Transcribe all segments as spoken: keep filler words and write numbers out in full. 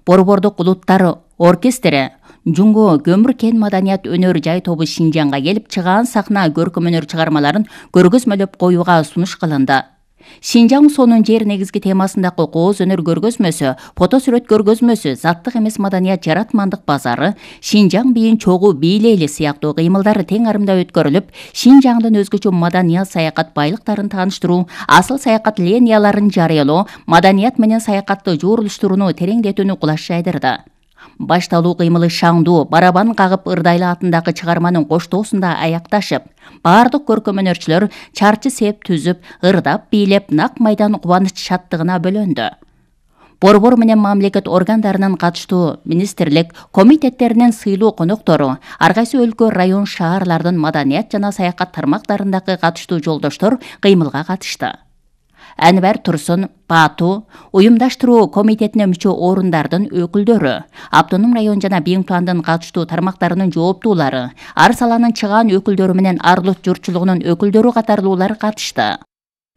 Борбордук улуттар оркестри Жунго көмүр кен маданият өнөр жай тобу Шинжаңга келип, чыгаан сахна көркөм өнөр чыгармаларын көргөзмөлөп коюуга сунуш кылынды. Шинжаң сонун жер негизги темасындагы кооз өнөр көргөзмөсү, фото сүрөт көргөзмөсү, заттык эмес маданият жаратмандык базары, Шинжаң бийин чогуу бийлейли сыяктуу кыймылдар тең арымда өткөрүлүп, Шинжаңдын өзгөчө маданият саякат байлыктарын тааныштыруу, асыл саякат линияларын жарыялоо, маданият менен саякатты жуурулуштурууну тереңдетүүнү кулаш жайдырды. Башталуу кыймылы шаңдуу, барабан кагып Ырдайлы атындагы чыгарманын коштоосунда аякташып, бардык көркөм өнөрчүлөр чарчы сеп түзүп, ырдап, бийлеп, нак майдан кубаныч шаттыгына бөлөндү. Борбор менен мамлекет органдарынын катыштуу министрлик, комитеттеринин сыйлуу коноктору, ар кайсы өлкө, район, шаарлардын маданият жана саякат тармактарындагы катыштуу жолдоштор кыймылга катышты. Әнвер Турсун, Бату, уюмдаштыруу комитетине мүчө орундардын өкүлдөрү, Автоном район жана Биңтуандын катыштуу тармактарынын жооптуулары, ар саланын чыгаан өкүлдөрү менен Арлут журтчулугунун өкүлдөрү катарлуулар катышты.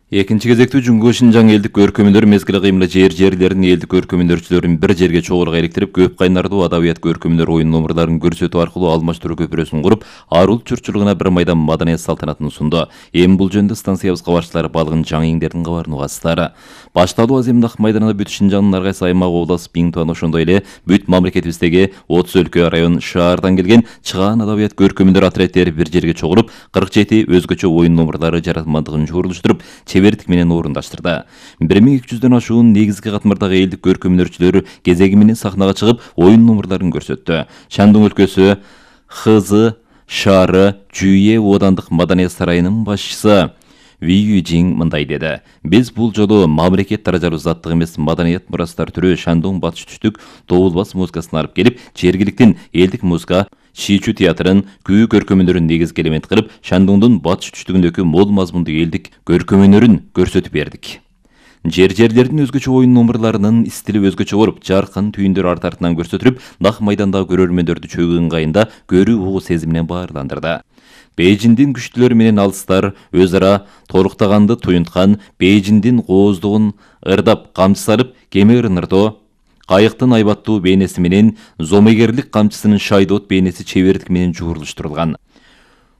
Экинчи кезектүү Жунго Шинжаң элдик көркөм өнөр мезгили кыймылы жер жерлерин элдик көркөм өнөрчүлөрүн бир жерге чогулук иликтирип, көп кайнардуу адабият көркөм өнөр оюн номерларын көрсөтүү аркылуу алмаштыруу көпүрөсүн куруп, Арулт журтчулугуна бир майдан маданият салтанатын сунду. Эми бул жөнүндө станциябызга башчылары балгын жаңиңдердин кабарын угасыздар. Башталуу аземдик майданында бүт Шинжаңдын ар кайсы аймак, облас, Биңтуан, ошондой эле бүт мамлекетибиздеги отуз өлкө, район, шаардан келген чыгаан адабият көркөм өнөр отрядтери бир жерге чогулуп, кырк жети өзгөчө оюн номерлары жаратмандыгын жуурулуштуруп, чебердик менен орундаштырды. бир миң эки жүздөн ашуун негизги катмардагы элдик көркөм өнөрчүлөр кезеги менен сахнага чыгып, оюн номерларын көрсөттү. Шандың өлкөсү Хызы шаары Жүйе оодандык маданият сарайынын башчысы Вию Жиң мындай деди: "Биз бул жолу мамлекет даражалуу заттык эмес маданият мурастар түрү Шандың батыш түштүк добулбас музыкасын алып келип, жергиликтин элдик музыка Шичу театрын күү көркөм өнөрүн негизги элемент кылып, Шандыңдын батыш түштүгүндөгү мол мазмундуу элдик көркөм өнөрүн көрсөтүп бердик. Жер жерлердин өзгөчө оюн номерларынын стили өзгөчө болуп, жаркын түйүндөр арт артынан көрсөтүлүп, нак майдандагы көрөрмөндөрдү чөгүү ыңгайында көрүү угуу сезиминен баарландырды. Бейжиңдин күчтүүлөрү менен алыстар өз ара толуктаганды туюнткан, Бейжиңдин кооздугун ырдап камчы салып, кеме ырныртоо, кайыктын айбаттуу бейнеси менен зомегерлик камчысынын шайдоот бейнеси чебердик менен жуурулуштурулган.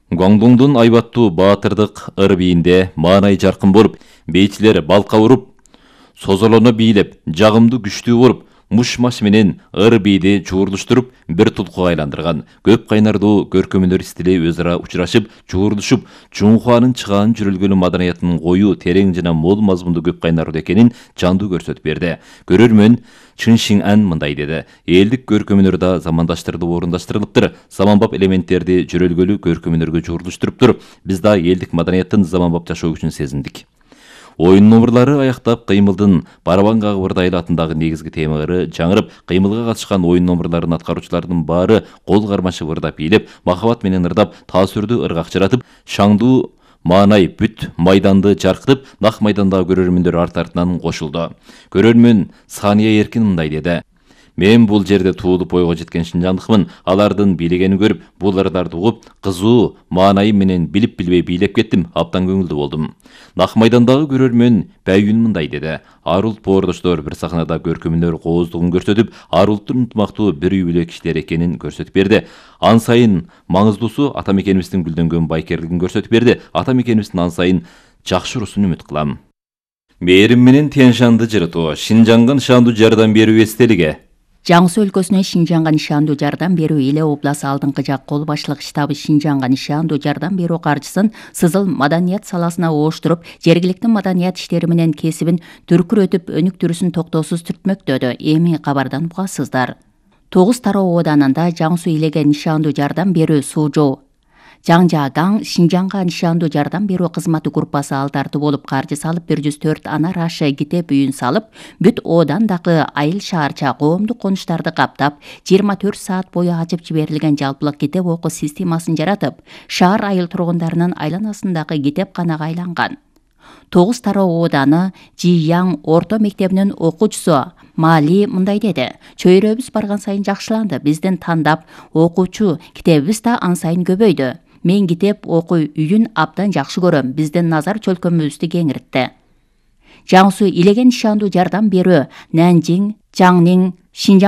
Гуаңдоңдун айбаттуу баатырдык ыр бийинде маанай жаркын болуп, бейчилер балка уруп, созолоно бийлеп, жагымдуу күчтүү болуп, муш-маш менен ыр бийди жуурулуштуруп, бир тулкуга айландырган. Көп кайнардуу көркөм өнөр стили өз ара учурашып, жуурулушуп, Жунхуанын чыгаан жүрөлгөнү маданиятынын коюу, терең жана мол мазмундуу көп кайнардуу экенин жандуу көрсөтүп берди. Көрөрмөн Чын Шиң Ан мындай деди: "Элдик көркөм өнөр да замандаштырылып орундаштырылыптыр. Заманбап элементтерди жүрөлгөлүү көркөм өнөргө жуурулуштуруптур. Биз да элдик маданияттын заманбап жашоо күчүн сезиндик." Оюн номерлары аяктап, кыймылдын барабан кагып Ырдайлы атындагы негизги темалары жаңырып, кыймылга катышкан оюн номерларын аткаруучулардын баары кол кармашып ырдап бийлеп, махабат менен ырдап, таасүрдүү ыргакчыратып, шаңдуу маанай бүт майданды жаркытып, нак майдандагы көрөрмөндөр арт артынан кошулду. Көрөрмөн Сания Эркин мындай деди: "Мен бул жерде туулуп бойго жеткен шинжандыкмын. Алардын бийлегенин көрүп, бул ырдарды угуп, кызуу маанайы менен билип билбей бийлеп кеттим. Абдан көңүлдүү болдум." Нак майдандагы көрөрмөн Баюн мындай деди: "Арулт боордоштор бир сахнада көркөм өнөр кооздугун көрсөтүп, Арулттун ынтымактуу бир үй бүлө кишилер экенин көрсөтүп берди. Ан сайын маңыздуусу ата мекенибиздин гүлдөнгөн байкерлигин көрсөтүп берди. Ата мекенибиздин ан сайын жакшы урусун үмүт кылам." Мээрим менен Тянь-Шанды жырытуу, Шинжаңга нышандуу жардам берүү эстелиги. Жаңсы өлкөсүнө Шинжаңга нишандуу жардам берүү Иле обласы алдыңкы жак кол башчылык штабы Шинжаңга нишандуу жардам берүү каржысын Сызыл маданият саласына ооштуруп, жергиликтин маданият иштери менен кесибин түркүрөтүп, өнүктүрүүсүн токтоосуз түртмөктөдү. Эми кабардан угасыздар. Тогуз тароо ооданында Жаңсу Илеге нишандуу жардам берүү Суужоо Жаңжаагаң Шинжаңга нишандуу жардам берүү кызматы группасы алтарды болуп каржы салып, бир жүз төрт ана рашы китеп үйүн салып, бүт оодандагы айыл шаарча коомдук конуштарды каптап, жыйырма төрт саат бою ачып жиберилген жалпылык китеп окуу системасын жаратып, шаар айыл тургундарынын айланасындагы китепканага айланган. Тогуз тароо ооданы Жияң орто мектебинин окуучусу Мали мындай деди: "Чөйрөбүз барган сайын жакшыланды. Биздин тандап окуучу китебибиз да ан сайын көбөйдү. Мен китеп окуу үйүн абдан жакшы көрөм. Биздин назар чөлкөмүбүздү кеңиртти." Жаңсу Илеге нишандуу жардам берүү Нанжиң, Жаңнин, Шинжаң